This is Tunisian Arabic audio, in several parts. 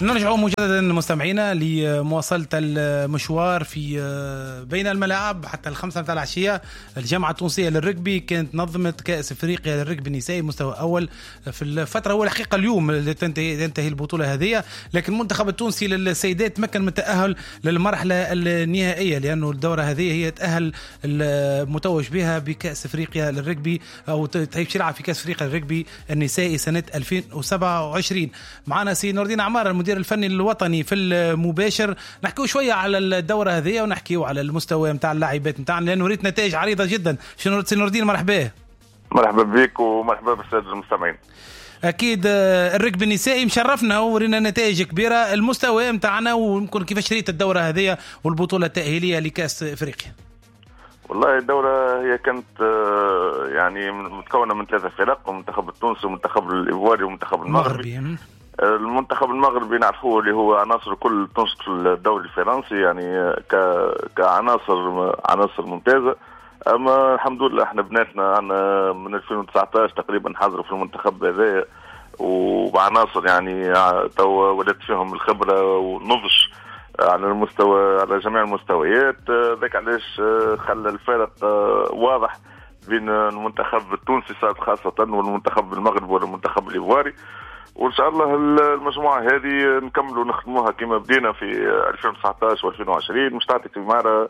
نرجع مجددا مستمعينا لمواصلة المشوار في بين الملاعب حتى 5 متاع العشية. الجامعة التونسية للركبي كانت نظمت كأس افريقيا للركبي النسائي مستوى أول في الفترة، هو الحقيقة اليوم اللي تنتهي البطولة هذه، لكن المنتخب التونسي للسيدات تمكن من التأهل للمرحلة النهائية، لأنه الدورة هذه هي تأهل المتوج بها بكأس افريقيا للركبي أو تلعب في كأس افريقيا للركبي النسائي سنة 2027. معنا سي نور الدين عمارة المدير الفني الوطني في المباشر، نحكيو شوية على الدورة هذه ونحكيو على المستوى نتاع اللاعبات نتاعنا، لانه ريت نتائج عريضة جدا. سي نور الدين مرحبا. مرحبا بك ومرحبا بالساده المستمعين. اكيد الركب النسائي مشرفنا ورينا نتائج كبيرة، المستوى نتاعنا ويمكن كيفاش ريت الدورة هذه والبطوله التاهيليه لكاس افريقيا. والله الدورة هي كانت يعني متكونه من 3 فرق، المنتخب التونسي والمنتخب الايفواري والمنتخب المغربي. المنتخب المغربي نعرفوه اللي هو عناصر كل تنشط في الدوري الفرنسي، يعني كعناصر عناصر ممتازة. اما الحمد لله احنا بناتنا عندنا من 2019 تقريبا حضروا في المنتخب هذا، وبعناصر يعني تو ولات فيهم الخبرة والنضج على المستوى، على جميع المستويات. ذاك علاش خلى الفارق واضح بين المنتخب التونسي خاصة والمنتخب المغربي والمنتخب الايفواري. وان شاء الله المجموعة هذه نكملوا نخدموها كما بدينا في 2019 و2020، مش تعطي ثماره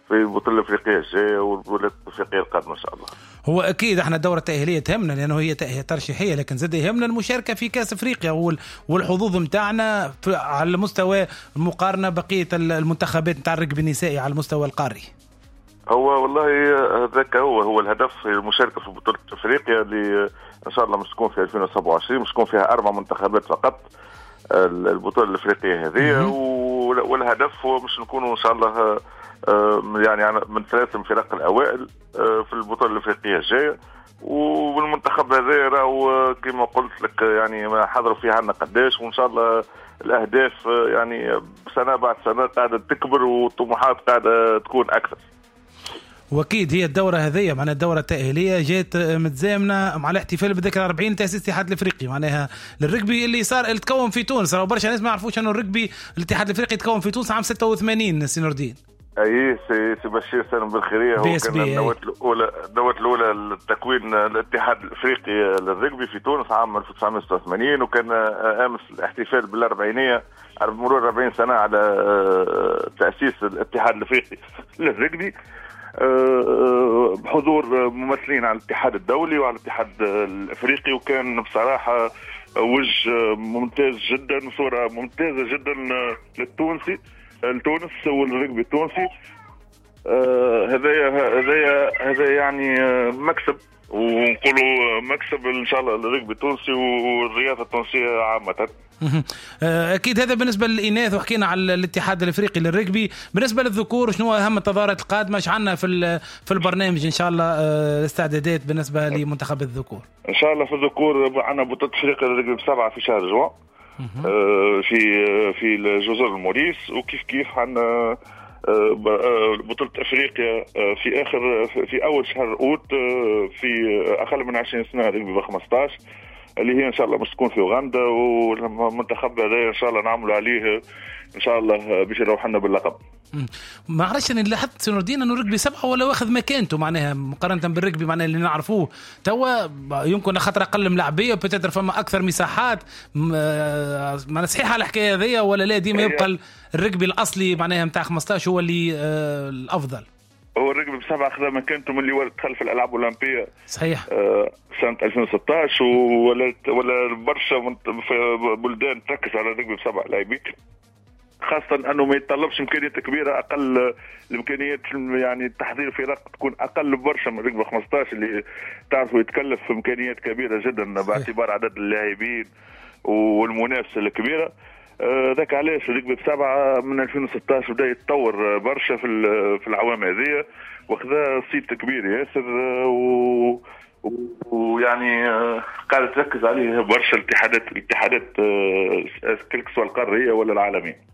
في البطولة الافريقية الجاية والبطوله الافريقية القادمة ان شاء الله. هو اكيد احنا الدورة التاهيليه تهمنا لانه هي ترشيحيه، لكن زاد يهمنا المشاركة في كاس افريقيا والحظوظ نتاعنا على المستوى المقارنة بقية المنتخبات نتاع الركب النسائي على المستوى القاري. هو والله هذاك هو الهدف، المشاركة في بطوله افريقيا اللي ان شاء الله مش تكون في 2027، مش تكون فيها 4 منتخبات فقط البطولة الافريقية هذه. والهدف هو مش نكونوا ان شاء الله يعني من 3 فرق الاوائل في البطولة الافريقية الجاية. والمنتخب هذا راهو كما قلت لك يعني حضروا فيها عندنا قداش، وان شاء الله الاهداف يعني سنة بعد سنة قاعدة تكبر والطموحات قاعدة تكون اكثر. واكيد هي الدورة هذه معناها الدورة التاهيليه جات متزامنه مع الاحتفال بذكرى 40 تاسيس الاتحاد الافريقي معناها للركبي اللي صار اللي تكون في تونس. راه برشا ناس ما يعرفوش انه الركبي الاتحاد الافريقي تكون في تونس عام 86. سي نور الدين. اي سي بشير سالم بالخيريه هو كان النواة الاولى، النواة الاولى لتكوين الاتحاد الافريقي للركبي في تونس عام 1986، وكان امس الاحتفال بالاربعينيه مرور 40 سنة على تاسيس الاتحاد الافريقي للركبي بحضور ممثلين على الاتحاد الدولي وعلى الاتحاد الافريقي. وكان بصراحة وجه ممتاز جدا، صوره ممتازة جدا للتونسي، لتونس والركبي التونسي. هذا يعني مكسب، ونقولوا مكسب ان شاء الله للركبي التونسي والرياضة التونسية عامة. اكيد هذا بالنسبة للاناث، وحكينا على الاتحاد الافريقي للركبي. بالنسبة للذكور شنو اهم التظاهرات القادمة؟ ايش عندنا في البرنامج ان شاء الله الاستعدادات بالنسبة لمنتخب الذكور؟ ان شاء الله في الذكور عندنا بطوله افريقيا للركبي ب7 في شهر جوان في الجزر الموريس، وكيف كيف عندنا بطولة افريقيا في اخر في اول شهر اوت في اقل من 20 سنة ركبي ب15 اللي هي ان شاء الله مش تكون في اوغندا. والمنتخب هذا ان شاء الله نعملوا عليه ان شاء الله باش يروح لنا باللقب. ما عرفتش انا لاحظت سي نور الدين انه ركبي 7 ولا واخذ مكانته معناها مقارنة بالركبي معناها اللي نعرفوه توا، يمكن خاطر اقل ملاعبيه peut-être فما اكثر مساحات. معناها صحيحه الحكاية هذيا ولا لا؟ ديما يبقى الركبي الاصلي معناها نتاع 15 هو اللي الافضل. هو الركبي ب7 اخذ مكانته من اللي دخل في الالعاب الاولمبية صحيح سنة 2016، ولا برشا في بلدان تركز على الركبي ب7 لاعبين، خاصة أنه ما يتطلبش إمكانيات كبيرة، أقل الإمكانيات يعني تحضير فرق تكون أقل برشا من ركبة 15 اللي تعرفوا يتكلف في إمكانيات كبيرة جدا باعتبار عدد اللاعبين والمنافسة الكبيرة. ذاك علاش ركبة ب7 من 2016 بدأ يتطور برشا في العوام هذه، وخذا صيت كبير ياسر ويعني قاعدة تركز عليه برشا الاتحادات quel que soit القارية ولا العالمية.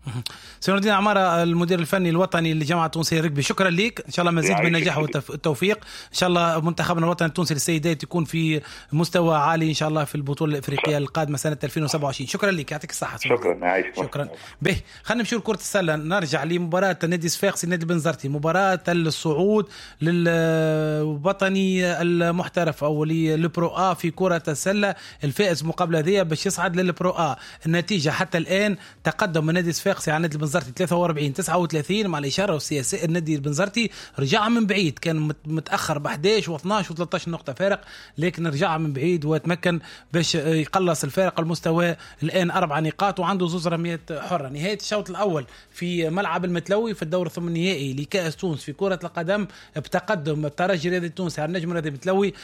سي نور الدين عمارة، المدير الفني الوطني للجامعة التونسية ركبي، شكرا لك، ان شاء الله مزيد من النجاح والتوفيق، ان شاء الله منتخبنا الوطني التونسي للسيدات يكون في مستوى عالي ان شاء الله في البطولة الافريقية القادمة سنة 2027. شكرا لك، يعطيك الصحة. شكرا، عايشك. شكرا. به خلينا نمشيو لكرة السلة، نرجع لمباراة النادي الصفاقسي النادي البنزرتي، مباراة الصعود للوطني المحترف او لل Pro A في كرة السلة، الفائز المقابلة هذه باش يصعد لل Pro A. النتيجة حتى الآن تقدم النادي الصفاقسي على النادي البنزرتي 43-39 مع الإشارة والسياسة. النادي البنزرتي رجع من بعيد، كان متأخر ب 11 و12 و13 نقطة فارق، لكن رجع من بعيد وتمكن باش يقلص الفارق. المستوى الآن 4 نقاط وعنده 2 رميات حرة. نهاية الشوط الأول في ملعب المتلوي في الدور الثمن النهائي لكأس تونس في كرة القدم بتقدم الترجي الرياضي التونسي على النجم الرياضي المتلوي 0-1،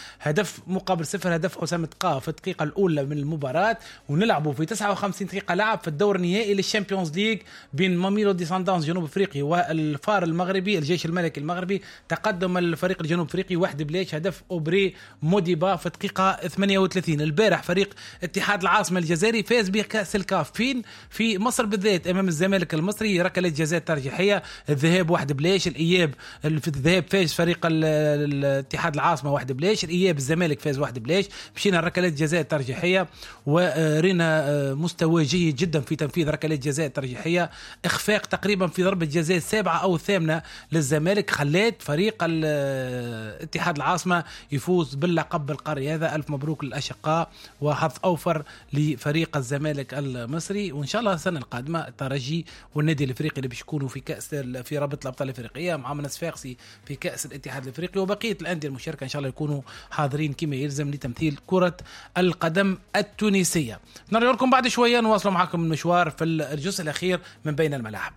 هدف حسام تقا في الدقيقة الأولى من المباراة. ونلعبوا في 59 دقيقة لعب في الدور النهائي لل Champions League بين ماميلودي سانداونز جنوب افريقي والفار المغربي الجيش الملكي المغربي. تقدم الفريق الجنوب افريقي 1-0، هدف أوبري موديبا في الدقيقة 38. البارح فريق اتحاد العاصمة الجزائري فاز بكأس الكاف فين في مصر بالذات أمام الزمالك المصري، ركلة جزاء ترجيحية، الذهاب 1-0، الإياب في الذهاب فاز فريق الاتحاد العاصمة 1-0، الإياب الزمالك فاز 1-0. مشينا ركلات جزاء ترجيحية ورينا مستوى جيد جدا في تنفيذ ركلات جزاء ترجيحية، إخفاق تقريبا في ضربة جزاء 7 أو 8 للزمالك خلات فريق الاتحاد العاصمة يفوز باللقب القاري هذا. ألف مبروك للأشقاء وحظ أوفر لفريق الزمالك المصري، وإن شاء الله السنة القادمة الترجي والنادي الإفريقي اللي باش يكونوا في كأس في رابطة الأبطال الإفريقية مع الصفاقسي في كأس الاتحاد الإفريقي وبقية الأندية المشاركة إن شاء الله يكونوا حاضرين كما يلزم لتمثيل كرة القدم التونسية. نرجع لكم بعد شوية نواصل معكم المشوار في الجزء الأخير من بين الملاعب.